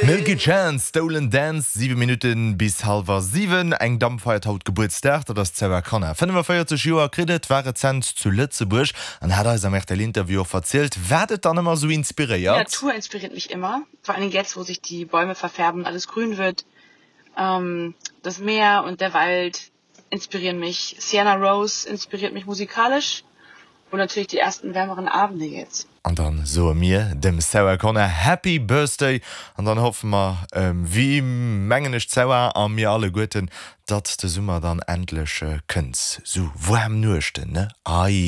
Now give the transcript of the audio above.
Milky Chance, Stolen Dance, 7 Minutten bis hallwer 7. Eng Damm feiert haut Gebuertsdag, dat ass d'Sarah Connor. 45 Joer kritt et, war rezent zu Lëtzebuerg an hat eis am RTL-Interview och verzielt, wat et dann ëmmer esou inspiréiert. Die Natur inspiriert mich immer, vor allen Dingen jetzt, wo sich die Bäume verfärben und alles grün wird. Das Meer und der Wald inspirieren mich, Sienna Rose inspiriert mich musikalisch und natürlich die ersten wärmeren Abende jetzt. An dann soe mir dem Sarah Connor Happy Birthday an dann hoffe mer, wéi mengen ech d'Sarah a mir alleguerten, datt de Summer dann endlech kënnt. Sou waarm Nuechten, ne? Ei.